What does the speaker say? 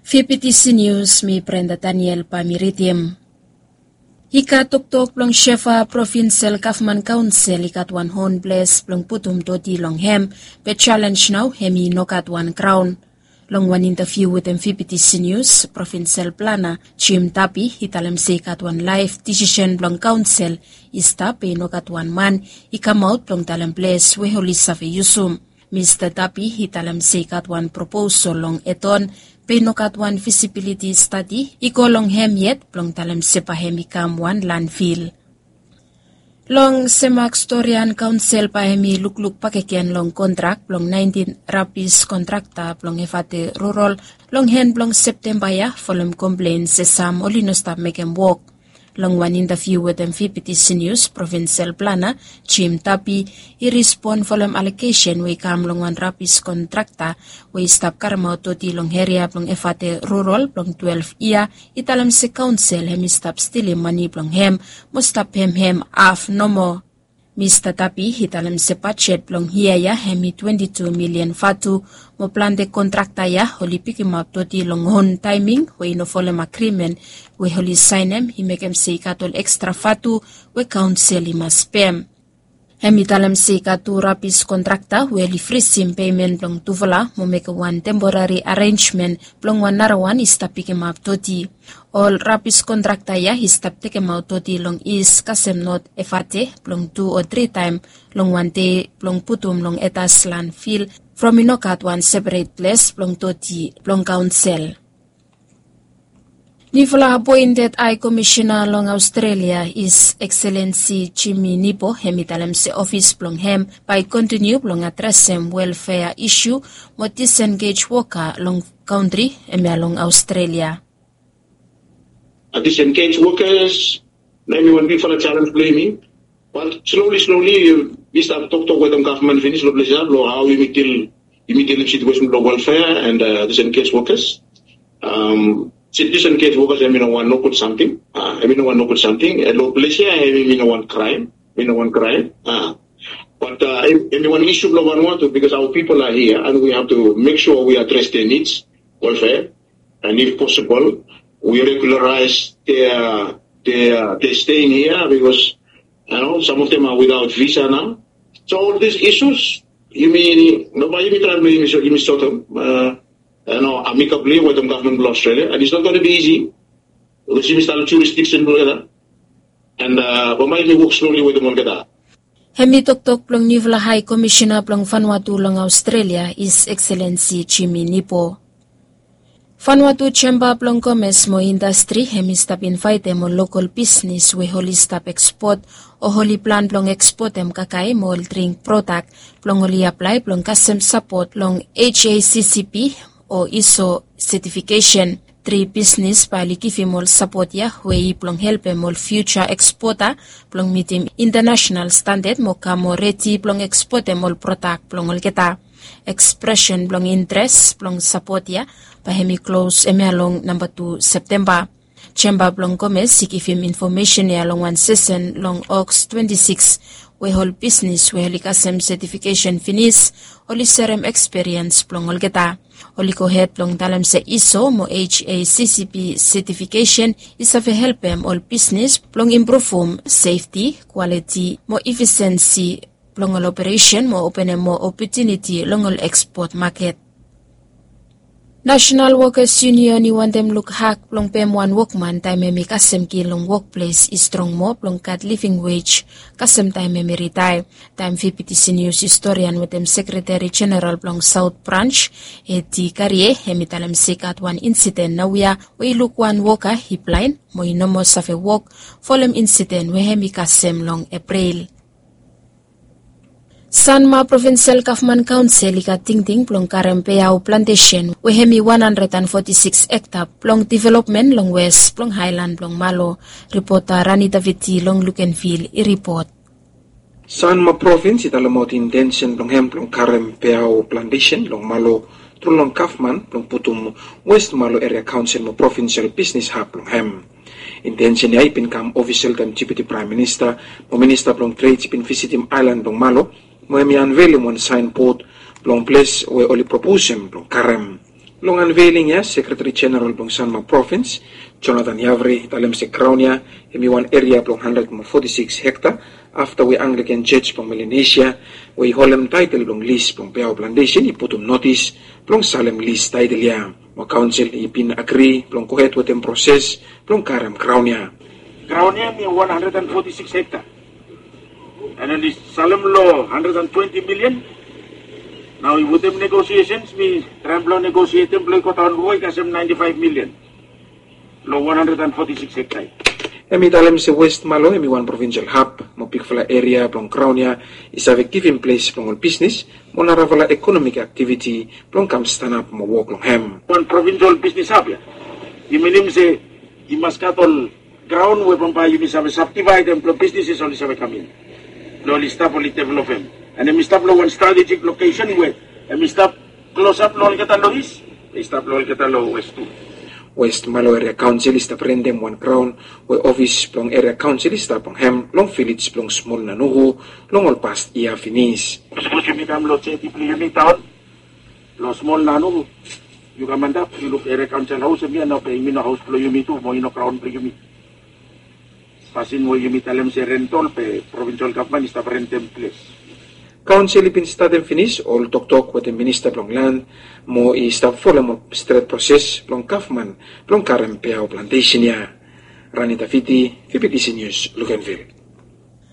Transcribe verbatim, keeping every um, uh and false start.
Fipitisi nius mi Brenda Daniel bae mi ridim. I gat toktok blong Shefa Provinsel Gavman Kaonsel i gat wan hon ples blong putum doti long hem, be jalenj nao hem i no gat wan graon. Long wan intaviu wetem Fipitisi Nius, Provinsel Plana Jim Tapi i talem se i gat wan laef disisen blong kaonsel i stap be i no gat wan man i kamaot blong talem ples we oli save yusum. Mista Tapi i talem se i gat wan proposol long Eton be i no gat wan fisibiliti stadi i go long hem yet blong talem se bae hem i kam wan landfil. Long Semak Storian Kaonsel bae hem i lukluk bakegen long kontrak blong naentin rabis kontrakta blong Efate Rurol long hen blong Septemba ya folem komplen se sam oli no stap mekem wok. Long wan intaviu wetem Fipitisi Nius, Provinsel Plana Jim Tapi i rispon folem alegesen we i kam long wan rabis kontrakta we i stap karemaot doti long eria blong Efate Rurol blong twelef yia, i talem se kaonsel hem i stap stilim mane blong hem mo stap pem hem haf nomo. Mista Tapi i talem se bajet blong yia ya hem i twenti tu milian vatu, mo plante kontrakta ya oli pikimap doti long on taeming we i no folem agrimen we oli saenem i mekem se i gat ol ekstra vatu we kaonsel i mas pem. Hem i talem se i gat tu rabis kontrakta we oli frisim pemen blong tufala mo mekem wan temporari arenjmen blong wan narawan i stap pikimap doti. Ol rabis kontrakta ya i stap tekemaot doti long is kasem not Efate blong tu o tri taem long wan dei blong putum long etas landfil from i no gat wan seperet ples blong doti blong kaonsel. Nifala apoented Hai Komisena long Aostralia, Is Ekselensi Jimmy Nipo, hem i talem se ofis blong hem bae i kontiniu blong adresem welfea isu mo disengej woka long kantri hemia long Aostralia. Disengej wokas, na hem i wan bigfala jalenj blong yumi. Bat sloli sloli mi stap toktok wetem gavman finis long ples ya blong hao yumi dil, yumi dilim situesen blong welfea and disengej wokas. Disengej wokas hem i no wan nogud samting. Hem i no wan nogud samting long ples ya, hem i no wan kraem. Hem i no wan kraem. Bat hem i wan isu blong Vanuatu, bikos our people are here and we have to make sure we address their needs, welfare. And if possible, we regularize their their their staying here because you know some of them are without visa now. So all these issues, yumi, no, bae yumi traem blong yumi sort them, you know, amicably wetem gavman blong Australia, and it's not going to be easy because yumi stap long jurisdiction blong olgeta, and bambae yumi wok sloli wetem olgeta. Hem i toktok blong nifala Hai Komisena blong Vanuatu long Aostralia, Is Ekselensi Jimmy Nipo. Vanuatu Jemba blong Komes mo Indastri hem i stap invaetem ol lokol bisnis we oli stap ekspot o oli plan blong ekspotem kakae mo ol dring prodak blong oli aplae blong kasem sapot long H A C C P o iso setifikesen. Tri bisnis bae oli givim ol sapot ya we i blong helpem ol fiuja ekspota blong mitim intanasenal standad mo kam moa redi blong ekspotem ol prodak blong olgeta. Ekspresen blong intres blong sapot ya bae hem i klos hemia long namba tu Septemba. Jemba blong Komes i givim infomesen ya long wan sesen long Oks twenti sikis we ol bisnis we oli kasem setifikesen finis oli serem ekspiriens blong olgeta. Oli gohed blong talem se iso mo H A C C P setifikesen i save helpem ol bisnis blong impruvum sefti, kwaliti mo ifisensi blong ol operesen mo openem moa opotuniti long ol ekspot maket. Nasenal Wokas Yunion i wantem lukhak blong pem wan wokman taem hem i kasem ki long wokples i strong moa blong gat living wej kasem taem hem i ritaea. Taem Fifty Senior Historian wetem Sekreteri Jeneral blong Saot Branj, Eti Karie, hem i talem se i gat wan insiden naoia we i luk wan woka i blaen mo i no moa save wok folem insiden we hem i kasem long Epril. Sanma Provinsel Gavman Kaonsel i gat tingting blong karem peao plantesen we hem i wan handred an foti sikis hekta blong developmen long wes blong haelan blong Malo. Ripota Rani Daviti long Lukenvil i ripot. Sanma Provins i talemaot intensen blong hem blong karem peao plantesen long Malo tru long gavman blong putum West Malo Eria Kaonsel mo provinsel bisnis hab blong hem. Intensen ya i bin kam ofisel taem Deputi Praem Minista mo Minista blong Tred i bin visitim aelan blong Malo mo hem i anvelim wan saenbod blong ples we oli proposem blong karem. Long anveiling ya, Sekretari Jeneral blong Sanma Provins, Jonathan Yavri, i talem se graon ya hem i wan eria blong handred mo foti sikis hekta, afta we Anglikan Jos blong Melanesia we i holem taetel blong lis blong Peao Plantesen i putum notis blong salem lis taetel ya. Mo kaonsel i bin agri blong gohed wetem proses blong karem graon ya. Graon ya hem i wan handred and foti sikis hekta. An oli salem long handred and twenti milian. Nao i wetem negosiesens mi traem blong negosietem blong i godaon rua i kasem naenti faef milian long wan handred and foti sikis hekta. Hem i talem se West Malo hem i wan provinsel hab mo bigfala eria blong graon ya i save givim ples blong ol bisnis mo narafala ekonomik aktiviti blong kam stanap mo wok long hem. Wan provinsel bisnis hab ya i minim se i mas gat ol graon we bambae yumi save sabdivaedem blong bisnises oli save kam in blong oli stap oli developem. An hem i stap long wan stratejik lokesen we hem i stap klosap long olgeta long is, i stap long olgeta long wes tu. West Malo Eria Kaonsel i stap rentem wan graon we ofis blong Eria Kaonsel i stap long hem long vilej blong Smol Nanuhu long ol past yia finis. Sapos yumi kam long jeti blong yumi taon long Smol Nanuhu, yu kam antap yu luk Eria Kaonsel haos hem ya nao be yumi no haos blong yumi tu mo i no graon blong yumi. Pasin we yumi talem se rentol be provinsel gavman i stap rentem ples. Kaonsel i bin statem finis ol toktok wetem minista blong lan mo i stap folem ol stret proses blong gavman blong karem Peao Plantesen ya. Rani Tafiti, Vibitisi Nius, Luganvil.